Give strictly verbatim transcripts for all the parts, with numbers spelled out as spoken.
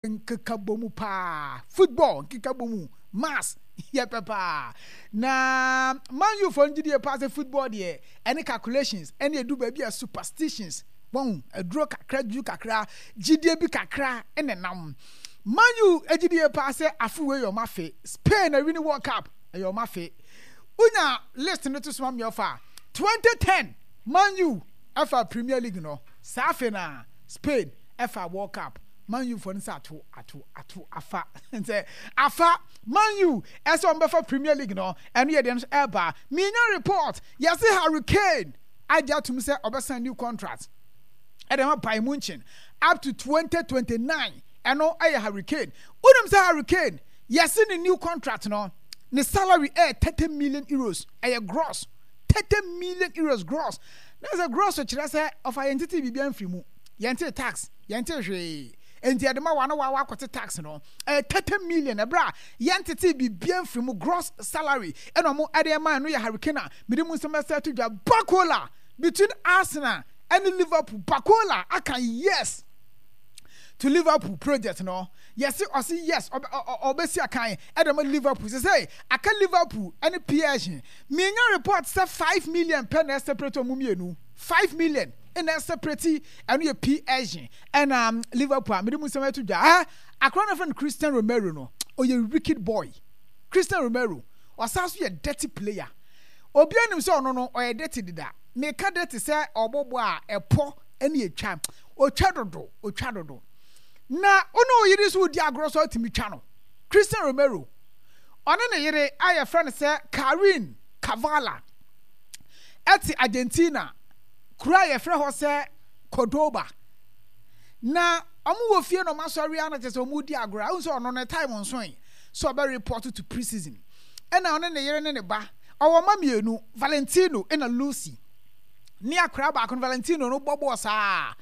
Nkekabɔ mu paa, football nkekabɔ mu, maths yɛ pɛ paa. Na Man U foɔ no gyidie paa sɛ football deɛ ɛne calculations ɛne ɛdu baabi a superstitions wɔn aduro kakra duru kakra gyidie bi kakra ɛna nam. Man U gyidie paa sɛ afe wei yɛ ɔmo afe. Spain awini World Cup ɛyɛ ɔmo afe. Wonya list no to so ma me ɔfa twenty ten Man U ɛfa Premier League no saa afe na Spain ɛfa World Cup. Man U foɔ no sɛ ato ato ato afa sɛ afa Man U ɛsɛ wɔn bɛfa Premier League no ɛno yɛ deɛ no ɛba minya report yɛse Harry Kane agye atum sɛ ɔbɛsan new contract ɛde ma Bayern Munchen up to twenty twenty-nine. Ɛno ɛyɛ Harry Kane. Wonim sɛ Harry Kane yɛse ne new contract no ne salary ɛyɛ thirty million euros, ɛyɛ gross, thirty million euros gross. Na sɛ gross kyerɛ sɛ ɔfa yɛn tete biribi amfiri mu, yɛn te tax, yɛn te hwee, enti ɛde ma wa na wa wakɔte tax no ɛyɛ thirty million ɛberɛ a yɛn tete biribi amfiri mu gross salary ɛna ɔmo ɛde ɛma. Ɛno yɛ Harry Kane a mede mu nsɛm ɛsɛ to dwa. Barcola between Arsenal ɛne Liverpool, Barcola aka yes to Liverpool project no. Yɛsi ɔsi yes, ɔbɛsi akan ɛde ma Liverpool sɛ sɛ aka Liverpool ɛne P S G. Minya report sɛ five million pɛ na ɛseparate ɔmo mmienu, five million ɛna ɛseparate. Ɛno yɛ P S G ɛna Liverpool a mede mu nsɛm ɛto dwa. Ɛ akora no fɛn Christian Romero no, ɔyɛ wicked boy. Christian Romero ɔsan so yɛ dirty player. Obi anim sɛ ɔno no ɔyɛ dirty deda. Meka dirty sɛ ɔbɔbɔ a ɛpɔ ɛne etwa, otwa dodo, otwa dodo. Na ɔne oyere so di agorɔ so atumi twa no. Christian Romero ɔne ne yere a yɛfrɛ no sɛ Karin Kavala ɛte Argentina kuro a yɛfrɛ hɔ sɛ Cordoba. Na ɔmo wɔ fie na ɔmo asɔre a na kyerɛ sɛ ɔmo di agorɔ a ɔmo sɛ ɔno ne time nsoe sɛ ɔbɛ report to pre-season. Ɛna ɔne ne yere ne ne ba, ɔwɔ mma mmienu, Valentino ɛna Lucy, ne akwaraa baako no. Valentino no bɔ bɔɔl saa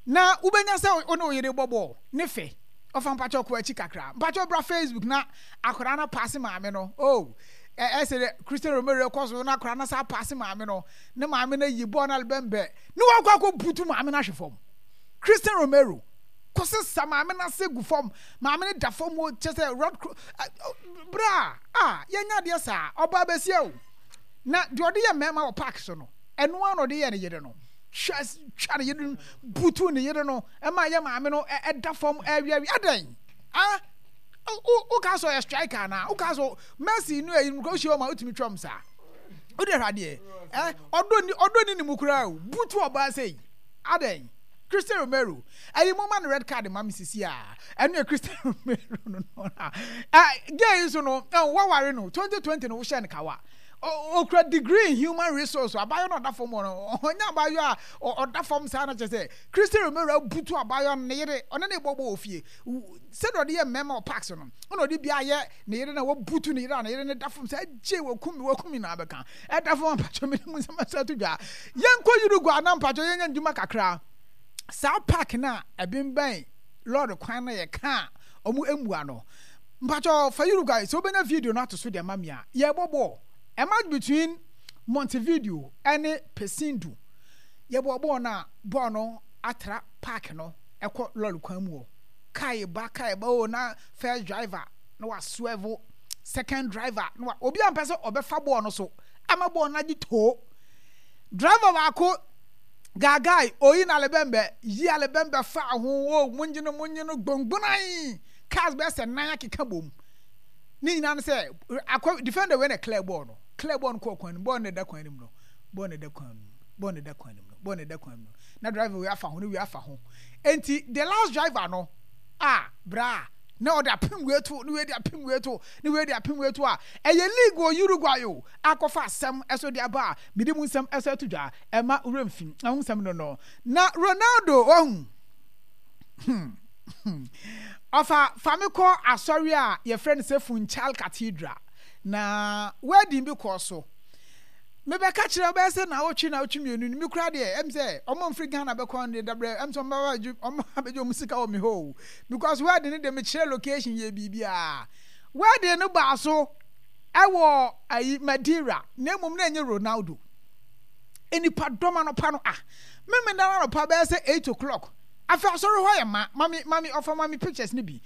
na wobɛnya sɛ ɔne oyere bɔ bɔɔl ne fɛ. Ɔfa mpakyɛ ɔkɔ akyi kakra, mpakyɛ ɔbra Facebook na akwaraa no paase maame no. Oh, ɛsɛ dɛ Christian Romero kɔ so na akwaraa no sa paase maame no ne maame no ayi bɔɔl no alebɛnbɛ ne wakɔ akɔ butu maame no ahwɛ fam. Christian Romero kɔsesa maame no ase gu fam, maame no da fam o, kyɛ sɛ rod bra a yɛnya adeɛ saa. Ɔbaa bɛsia o, na deɛ ɔde yɛ mmarima wɔ park so no, ɛno ara na ɔde yɛ ne yere no. Twa twa ne yere no, butu ne yere no, ɛma yɛ maame no ɛda fam ɛwiawi adɛn? Ah, woka sɛ ɔyɛ striker anaa? Woka sɛ Messi no ɛyi no kɔ wohyia ɔma wotumi twam saa? Wode hwɛ adeɛ ɛ ɔdɔ ni, ɔdɔ ni ne mu koraa o, butu ɔbaa sɛ yi adɛn? Christian Romero ɛyi mo ma no red card ma me sisi a. Ɛno yɛ Christian Romero no no ɛ gay nso no ɛ waware no twenty twenty no wohyɛ no kawa. Okura degree in human resource. Abayewa no ɔda fam hɔ no, ɔnyɛ abayewa a ɔda fam saa na kyerɛ sɛ Christian Romero abutu abayewa no, ne yere ɔne ne bɔbɔ wɔ fie sɛdeɛ ɔde yɛ mmarima wɔ parks no, ɛna ɔde bi ayɛ ne yere na wabutu ne yere a ne yere ne da fam sɛ agye wakum mi, wakum mi na abɛka ɛda fam. Ampatwɔ mi mu nsɛm ɛsɛ to dwa. Yɛnkɔ Uruguay na mpatwɔ yɛnyɛ ndwuma kakra. Saa park na ɛbɛnbɛn lɔɔre kwan na yɛka a ɔmo emua no, mpatwɔ fa Uruguay sɛ wobɛnya video no ato so deɛ ma mi a yɛbɔ bɔɔl, a match between Montevideo ɛne Paysandu. Yɛbɔ bɔɔl no a bɔɔl no atra park no ɛkɔ lɔɔre kwan mu hɔ. Kaa ba, kaa ba o, na first driver na wa swerve, second driver na wa obi a mpɛ sɛ ɔbɛfa bɔɔl no so ama bɔɔl no agye too. Driver baako gaagae oyi na alebɛnbɛ yi alebɛnbɛ fa ho o, mongye no, mongye no gbongbonan. Cars bɛyɛ sɛ nan akeka bom ne nyinaa no sɛ akɔ defender wei na clear bɔɔl no, clear bɔɔl no kɔɔ kwan no mu. Bɔɔl no da kwan no mu no, bɔɔl no da kwan no mu, bɔɔl no da kwan no mu no, bɔɔl no da kwan no mu na driver wei afa ho ne wei afa ho. Nti the last driver no a bra na ɔde apem wei to ne wei de apem wei to ne wei de apem wei to a ɛyɛ league wɔ Uruguay o, akɔfa asɛm ɛso de aba a mede mu nsɛm ɛso ato dwa ɛma wura mfi ɛho nsɛm no no Na Ronaldo wahu hmm ɔfa fa me kɔ asɔre a yɛfrɛ no sɛ Funchal Cathedral na wedding bi kɔɔ so. Mebɛka kyerɛ bɛyɛ sɛ naawɔtwe naawɔtwe mmienu no mi kora deɛ ɛm sɛ ɔmo mfiri Ghana bɛkɔ no deɛ dabrɛ ɛm sɛ ɔmo bɛgye ɔmo abɛgye ɔmo sika wɔ me hɔ o, because wedding no deɛ mekyerɛ location yɛ biribiara. Wedding no baa so ɛwɔ ayi Madeira, na mmom na ɛnyɛ Ronaldo. Nipa dɔm anɔpa no a mímí dan anɔpa bɛyɛ sɛ eight o'clock Afei asɔre hɔ yɛ ma mami mami ɔfa mami pictures ni bi.